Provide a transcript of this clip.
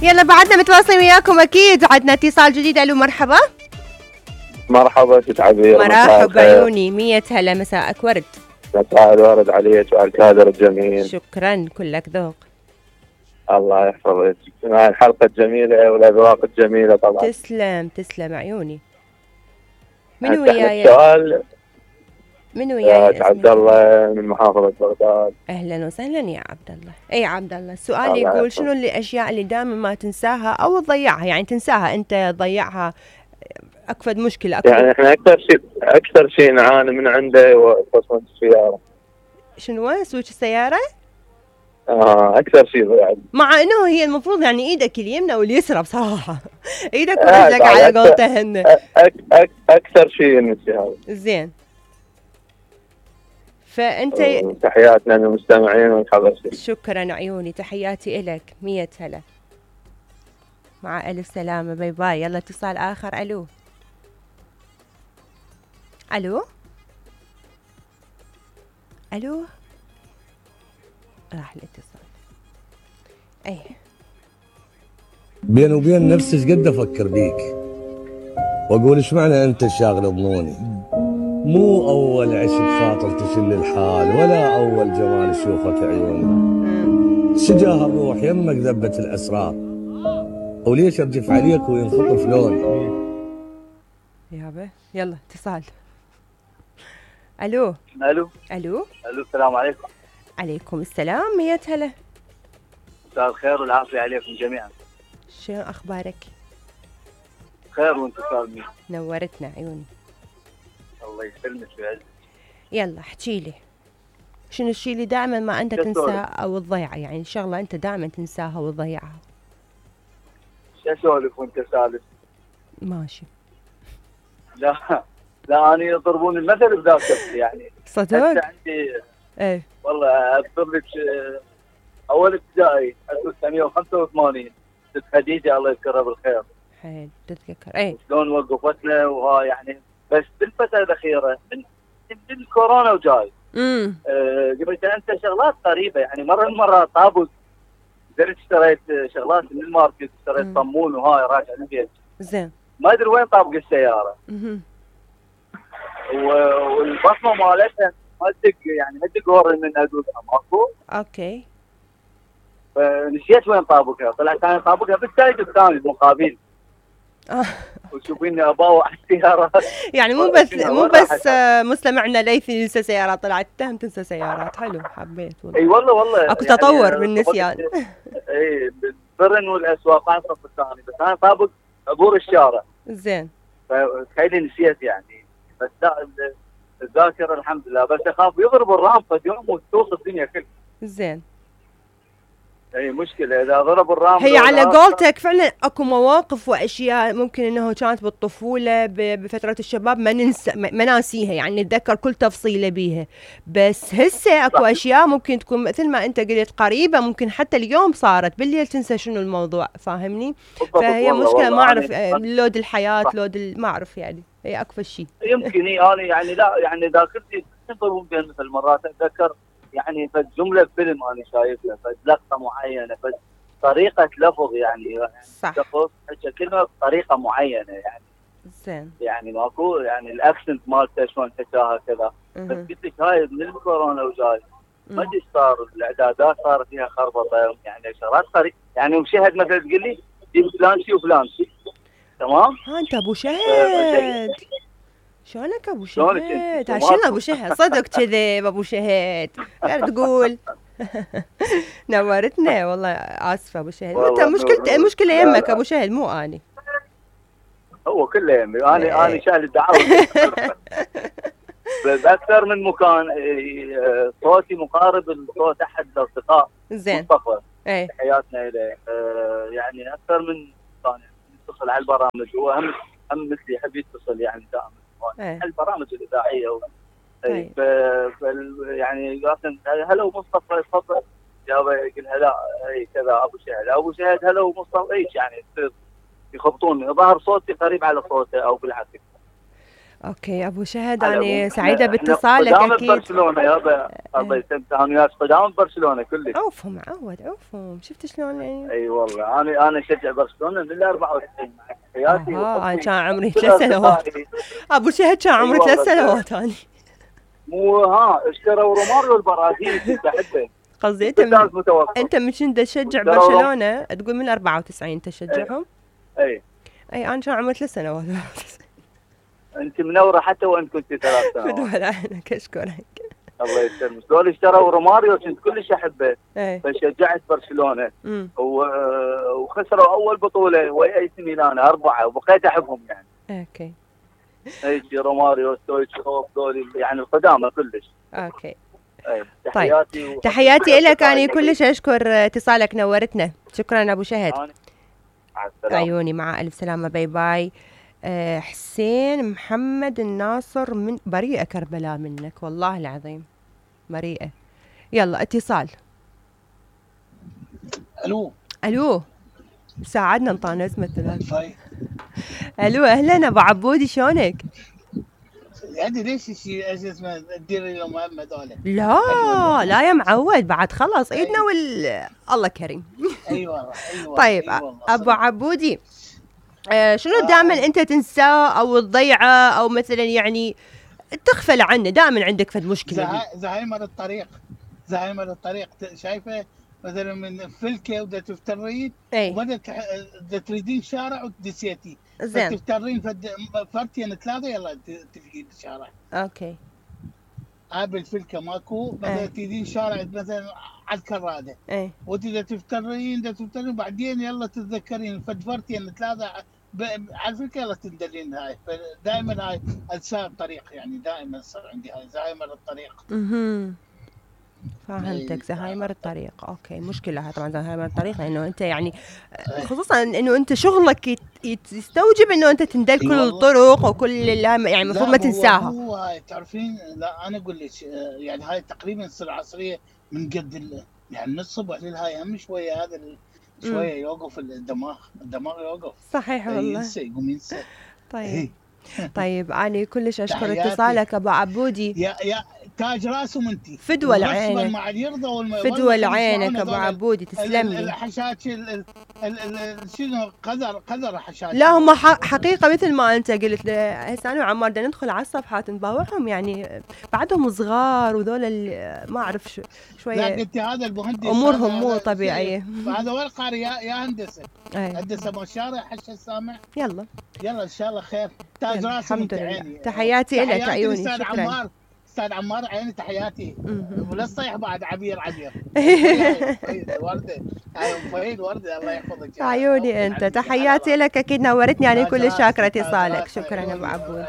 يلا بعدنا متواصلين وياكم اكيد. عندنا اتصال جديد. الو مرحبا. مرحبا ست عبير. مرحبا عيوني. 100 هلا. مساءك ورد. مساء الورد عليك وعلى الكادر الجميل. شكرا كلك ذوق. الله يحفظك مع الحلقة الجميلة والأذواق الجميلة طبعا. تسلم تسلم عيوني. من وياي؟ السؤال من وياي؟ عبد الله من محافظة بغداد. اهلا وسهلا يا عبد الله. اي عبد الله، السؤال يقول شنو الاشياء اللي دائما ما تنساها او تضيعها؟ يعني تنساها انت، تضيعها، اكبر مشكلة أكبر. يعني احنا اكثر شيء نعاني من عنده هو تصميم السيارة. شنو سويت السيارة؟ اكثر شيء يعني. مع انه هي المفروض يعني ايدك اليمنى واليسرى بصراحة. ايدك ورجلك على قولتهن. اكثر شيء نسي هذا. زين. فانت تحياتنا للمستمعين والحضر. شكرا عيوني، تحياتي الك. 100 هلا. مع الف سلامة. باي باي. يلا اتصال اخر. الو الو الو. راح الاتصال. اي بيني وبين نفسي ايش قد افكر بيك واقول ايش معنى انت الشاغل بظنوني. مو اول عشق خاطر تشل الحال ولا اول جمال شوفك عيوني. شجاه الروح يمك ذبت الاسرار وليش ارجف عليك وينخطف لوني. يابا يلا اتصال. الو الو الو الو. السلام عليكم. عليكم السلام. 100 هلا. مساء الخير والعافيه عليكم جميعا. شنو اخبارك؟ خير وانت سالمين. نورتنا عيوني. الله يسلمك ويعزك. يلا احكي لي شنو الشيء اللي دائما ما انت تنساه او تضيعه؟ يعني شغله انت دائما تنساها وتضيعها. شو اسولف وانت سالف؟ ماشي. لا انا يضربون المثل بذاكرتي يعني. صدق؟ عندي ايه والله اذكر لك اول ابتدائي 1985 ست خديجه الله يذكرها بالخير. حيل تتذكر. ايه شلون وقفتنا وها يعني. بس بالفتره الاخيره من الكورونا وجاي قلت انت شغلات غريبه يعني. مره من المرات طابق درت اشتريت شغلات من الماركت، اشتريت صمون وهاي راجع البيت. زين. ما ادري وين طابق السياره. والبصمه مالتها ما تدق يعني، ما تدق ورا من ادوقها ماكو. اوكي. فنسيت وين طابقها، طلع كان طابقها بالسايد الثاني المقابل. وشوفيني اباوع السيارات. يعني مو بس مستمعنا ليثي ينسى سيارات، طلعت تهم تنسى سيارات. حلو، حبيت والله. اي والله اكو تطور يعني بالنسيان. اي بالبرن والاسواق على الصف الثاني، بس انا طابق عبور الشارع. زين. فتخيلي نسيت يعني. بس لا الذاكره الحمد لله، بس اخاف يضرب الرام فد يوم وتوصل الدنيا كلها. زين. اي مشكله اذا ضرب الرام. هي على قولتك فعلا اكو مواقف واشياء ممكن انه كانت بالطفوله بفتره الشباب ما ننسى، ما ناسيها يعني، نتذكر كل تفصيله بيها. بس هسه اكو اشياء ممكن تكون مثل ما انت قلت قريبه، ممكن حتى اليوم صارت بالليل تنسى شنو الموضوع. فاهمني؟ فهي مشكله. ما اعرف لود الحياه، لود ما اعرف يعني. هي اكفى شيء. يمكن انا يعني لا يعني ذاكرتي تنطر بين مثل مرات اتذكر يعني جمله فيلم انا شايفها، لقطه معينه، بس طريقه لفظ يعني. صح. كلمه بطريقه معينه يعني. زين. يعني ماكو يعني الاكسنت مالته شلون حكاها كذا. بس قلت لك هاي من الكورونا وجاي ما ادري صار الاعدادات صار فيها خربطه يعني شغلات طريق يعني. وشهد مثلا تقول لي جيب فلان شي وفلان شي. تمام. انت ابو شهد. شلونك ابو شهد؟ عشان ابو شهد صدق كذب ابو شهد. غير تقول. نورتنا والله. اسفه ابو شهد. انت المشكله يمك ابو شهد مو اني. هو كله يمي. انا شايل الدعوه. بس اكثر من مكان صوتي مقارب لصوت احد الاصدقاء. زين. مصطفى. ايه. تحياتنا اليه. يعني اكثر من مكان يتصل على البرامج. هو هم مثلي يحب يتصل يعني دائما على البرامج الاذاعيه. يعني هلا ومصطفى تفضل. جاوب يقول هلا اي كذا ابو شهد. ابو شهد هلا ومصطفى ايش يعني يخبطوني. ظهر صوتي قريب على صوته او بالعكس. اوكي ابو شهد، على انا العموم سعيده إحنا باتصالك قدام اكيد. برشلونه يابا، الله يسلمك، انا وياك قدام برشلونه كلش. عوفهم معود عوفهم، شفت شلون يعني. اي والله انا اشجع برشلونه من ال 94 مع حياتي. انا كان عمري 3 سنوات. ابو شهد كان عمري 3 سنوات انا. مو اشتروا روماريو البرازيلي كنت احبه. قصدي انت من كنت تشجع برشلونه تقول من 94 تشجعهم؟ اي انا كان عمري 3 سنوات. انت منوره حتى وان كنت 3 سنوات. بدون عينك، اشكرك. الله يسلمك. دول اشتروا روماريو كنت كلش احبه، ايه فشجعت برشلونه وخسروا اول بطوله ويا اي سي ميلان 4 وبقيت احبهم يعني. اوكي. اي روماريو ستويتشوف دول يعني القدامى كلش. اوكي. تحياتي طيب. تحياتي لك، انا كلش اشكر اتصالك، نورتنا. شكرا ابو شهد. مع السلامه. عيوني، مع الف سلامه، باي باي. حسين محمد الناصر من بريئة كربلاء منك، والله العظيم بريئة. يلا اتصال. الو ساعدنا نطانز مثل. الو اهلا ابو عبودي، شلونك؟ يعني ليش اسمه تدير اليوم هذول؟ لا يا معود، بعد خلص عيدنا الله كريم. اي والله. طيب ابو عبودي، شنو دائما انت تنساه او تضيعه او مثلا يعني تغفل عنه، دائما عندك فد مشكله؟ زهايمر الطريق شايفه مثلا من فلكه ودا تفترين وبدك تريدين شارع وتدسيتي، زين تفترين فرتين 3 يلا تفقين الشارع. اوكي. بالفلكه ماكو، مثلا تريدين شارع مثلا على الكراده، وتدا تفترين بعدين يلا تتذكرين فرتين 3 على فكره يلا تندلين هاي. دائما هاي انسى الطريق، يعني دائما يصير عندي هاي زهايمر الطريق. فهمتك، زهايمر الطريق. اوكي، مشكله هاي طبعا زهايمر الطريق، لانه انت يعني خصوصا انه انت شغلك يستوجب انه انت تندل كل الطرق وكل يعني المفروض ما تنساها. هو هاي تعرفين، لا انا اقول لك يعني هاي تقريبا تصير عصريه من قد يعني من الصبح للهاي هم شويه هذا شويه يوقف الدماغ يوقف. صحيح والله. يقوم ينسى. طيب انا كلش اشكر اتصالك ابو عبودي. يا تاج راسهم انتي، فدوى لعينك، فدوى لعينك ابو عبودي، تسلم لي. الحشاش شنو قذر حشاش. لا هم حقيقه مثل ما انت قلت. هسه انا وعمار بدنا ندخل على الصفحات نباوعهم، يعني بعدهم صغار وذول ما اعرف شويه. لا قلت هذا المهندس امورهم مو طبيعيه. هذا وين قاري يا هندسه. هندسه بالشارع حش السامع. يلا ان شاء الله خير. تاج راسهم عيني. تحياتي لك عيوني. شكرا استاذ عمار، عيني تحياتي. ولا تصيح بعد عبير ورده. فهيد ورده، الله يحفظك عيوني انت. تحياتي لك، اكيد نورتني، يعني كل شاكره اتصالك. شكرا ابو عبودي.